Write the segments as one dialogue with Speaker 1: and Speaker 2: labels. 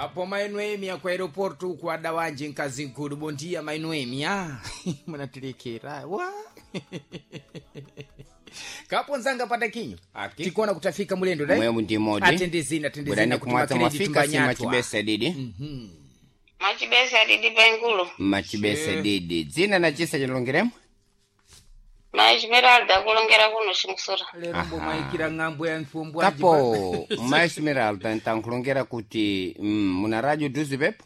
Speaker 1: Kapo mainoemia ku aeroporto uku adawanje nkazi nkulu. Bom dia mainoemia. Munatirekera wa kapo nzanga patakinyo
Speaker 2: Aki.
Speaker 1: tikuona kutafika mulendo dai
Speaker 2: Mwemu ndi modi.
Speaker 1: atendezina atendezina
Speaker 2: Bwerani
Speaker 1: kuti
Speaker 2: kumwatsa
Speaker 1: makireji
Speaker 2: mwafika si
Speaker 1: tumbanyatwa
Speaker 2: machibesa didi.
Speaker 3: Machibesa didi pengulu.
Speaker 2: Machibesa didi. Dzina na chisa chalongeremo?
Speaker 3: Maesmeralda kulongera kuno chimusura.
Speaker 1: lero mbomwaikira ng'ambo ya mfumbwanji
Speaker 2: Kapo maesmeralda ntankhulongera kuti muna radio duzi pepo?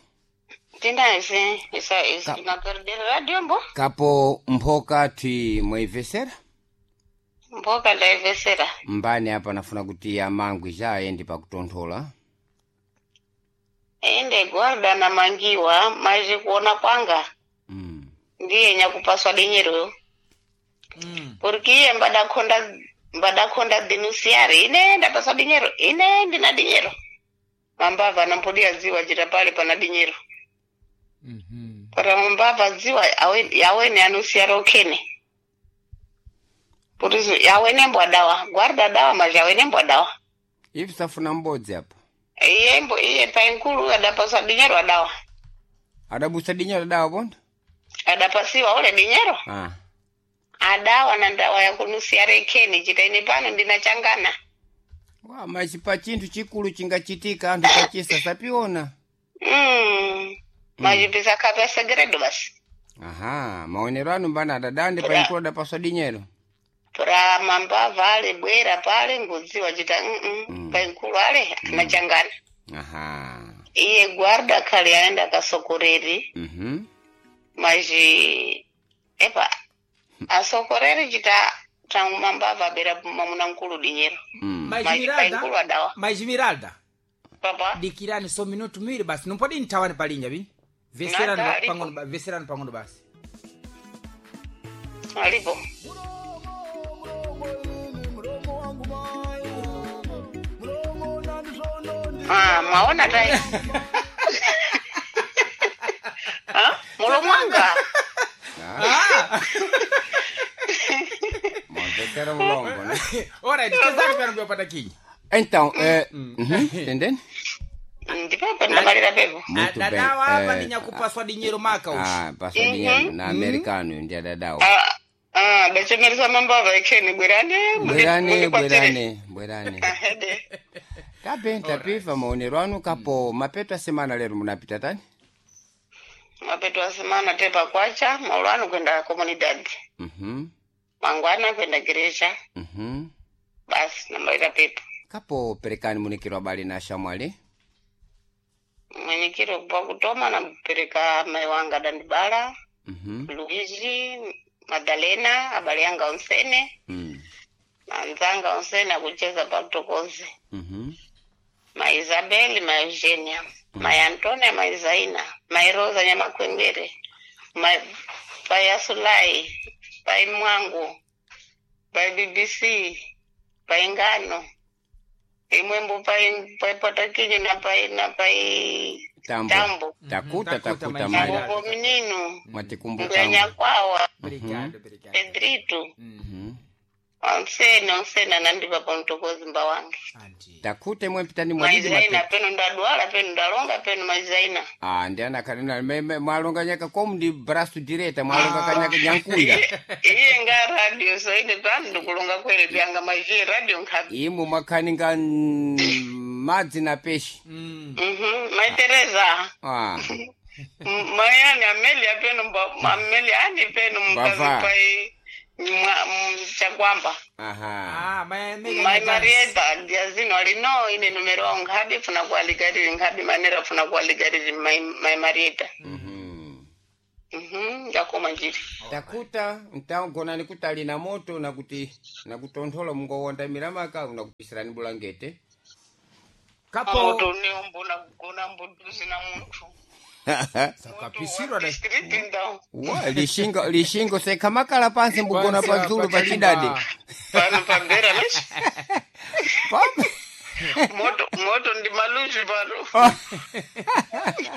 Speaker 3: Tindaise isa isa naperdera radio mbo.
Speaker 2: Kapo mphoka ti mwaivesera?
Speaker 3: Mboka ndaivesera.
Speaker 2: Mbani apa nafuna kuti amangwi ja ayendi pakutonthola.
Speaker 3: Ende guarda na mangiwa maji kuona kwanga. Ndiye nyakupaswa dinyero. Porque iye mbadakhonda denunciar ine ndapaswa dinyero ine ndina dinyero. Mambava nampodia ziwa jita pale pana dinyero. Para mambava ziwa awene anunciar okene. Por isso awene mbwa dawa guarda dawa mas awene mbwa dawa.
Speaker 2: Ivi safuna mbodzi apa.
Speaker 3: Iye mbo iye painkulu adapaswa dinyero adawa.
Speaker 2: Adabusa dinyero adawa ponda?
Speaker 3: Adapasiwa ule dinyero.
Speaker 2: Ah.
Speaker 3: Adawa na ndawa ya kunusiara ikheni chita ine pano ndinachangana.
Speaker 2: Wa machipa chinthu chikulu chingachitika anthu pachisa sapiona.
Speaker 3: Machipisa khape segredo basi.
Speaker 2: Aha, maonero anu mbana adadande painkulu adapaswa dinyero.
Speaker 3: Pra mambava ale bwera pale ngudziwa chita painkulu ale anachangana.
Speaker 2: Aha.
Speaker 3: Iye guarda khale aenda kasokoreri maji epa asokoreri chita tangu mambava abera mamuna nkulu dinyero. Maji painkulu adawa.
Speaker 1: Maesmeralda
Speaker 3: Papa.
Speaker 1: dikirani so minutu miwiri basi numpodi ntawani palinja vi veserani
Speaker 3: Nada, alipo.
Speaker 1: pang'ono veserani pang'ono basi.
Speaker 3: Alipo. Ah, mwaona tai. Ah, mulomo wanga.
Speaker 1: Ah!
Speaker 2: Mwamvesera mulongo, ne?
Speaker 1: Alright, chezani pano kupata kinyi.
Speaker 2: Então, entendendo?
Speaker 3: Ndipepo ndamalira pepo.
Speaker 2: Muito bem.
Speaker 1: Adadawa apa ndinyakupaswa dinyero maka ushi.
Speaker 2: Ah, paswa dinyero na americano ndi adadawa.
Speaker 3: Ah, ah, dachemeresa mambava ikheni bwerani.
Speaker 2: Bwerani, bwerani, bwerani.
Speaker 3: Ahede.
Speaker 2: Tabe, tapiva maonero anu kapo mapeto a semana lero munapita tani?
Speaker 3: Mapeto a semana tepa kwacha, maulano kwenda comunidad. Mangwana kwenda gereja. Basi namalira pepo.
Speaker 2: Kapo perekani munikiro abale na shamwali.
Speaker 3: Mwenyekiro kwa kutoma nampereka mai wanga dandibala. Luigi, Madalena, abale yanga onsene, manzanga onsene akucheza patokoze. Ma Isabel, ma Eugenia, ma Antonia, ma Isaina, ma Rosa Nyamakwengere, ma pai Asulai, pai Mwangu, pai BBC, pai Ngano, imwembo pai pai Patakinyo na pai na pai
Speaker 2: Tambo.
Speaker 3: Tambo.
Speaker 2: Takuta,
Speaker 1: Takuta,
Speaker 2: takuta
Speaker 1: maisha.
Speaker 2: mai.
Speaker 3: Tambo Minino,
Speaker 2: Mwatikumbuka.
Speaker 3: Mbwenyakwawa,
Speaker 1: Obrigado, obrigado.
Speaker 3: Pedrito. Onsene onsene anandipa pamtokozi mba wange.
Speaker 1: Anti.
Speaker 2: Takute mwe pitani mwadidi
Speaker 3: Maizaina
Speaker 2: mapeto.
Speaker 3: peno ndadwala peno ndalonga peno maizaina.
Speaker 2: Ah, ndi ana mwalonga nyaka komu ndi braço direita mwalonga kanyaka nyankuya.
Speaker 3: Iye nga radio so ine pano ndikulonga kwene pyanga majiye radio nkhapi.
Speaker 2: Imwe mwakhaninga madzi na peshi.
Speaker 3: Mai Teresa.
Speaker 2: Ah,
Speaker 3: Mayani Amelia peno Amelia ani peno mkazi
Speaker 2: Bava.
Speaker 3: pai chakwamba.
Speaker 2: aha.
Speaker 1: Ah, mai Amelia
Speaker 3: Mai
Speaker 1: Nyadance.
Speaker 3: Marieta diazino alino ine numero wangu nkhabi funa kualigariri nkhabi manera funa kualigariri mai Marieta. Ndakoma njiri.
Speaker 2: Takuta ntagonani kuti ali na moto nakuti nakutonthola mungowonda miramaka unakupisirani bulangete.
Speaker 1: Kapo
Speaker 3: Moto neumbo nakugona mbuduzi na munthu.
Speaker 1: sakapisirwa dai.
Speaker 3: District ndau.
Speaker 2: Wa lishingo lishingo sekhamakala pansi mbugona
Speaker 1: Pansi
Speaker 2: pazulu
Speaker 1: apa
Speaker 2: pachidade.
Speaker 1: palimba.
Speaker 3: Pano pambera leshi.
Speaker 2: Pambe.
Speaker 3: Moto moto ndi maluzi pano.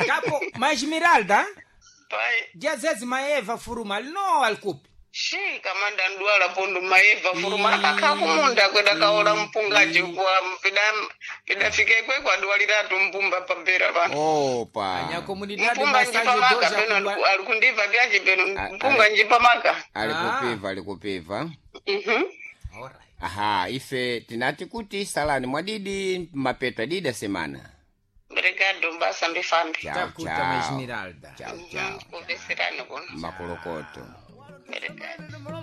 Speaker 1: Kapo Maesmeralda
Speaker 3: Pai
Speaker 1: diazezi maeva furuma alino alikupi.
Speaker 3: Shi kamanda ndwala pondo maeva furuma akakha kumunda kwenda kaola mpungaji kwa pida pidafike kwe kwadwaliratu mpumba pabera pano.
Speaker 2: Opa.
Speaker 1: Anya comunidade
Speaker 3: Mpunga
Speaker 1: massage
Speaker 3: njipamaka
Speaker 1: doja
Speaker 3: peno alikundiva vyaji peno
Speaker 2: A-
Speaker 3: mpunga njipamaka.
Speaker 2: Alikupiva, alikupiva.
Speaker 3: Mhm.
Speaker 1: Alright.
Speaker 2: Aha, ife tinati kuti salani mwadidi mapeto adidi asemana.
Speaker 3: Obrigado basa mbifambi.
Speaker 2: Chao,
Speaker 1: Takuta
Speaker 2: chao.
Speaker 1: ma Esmeralda.
Speaker 2: Chao, chao.
Speaker 3: Kuveserani kuno.
Speaker 2: Makolokoto.
Speaker 3: Obrigado.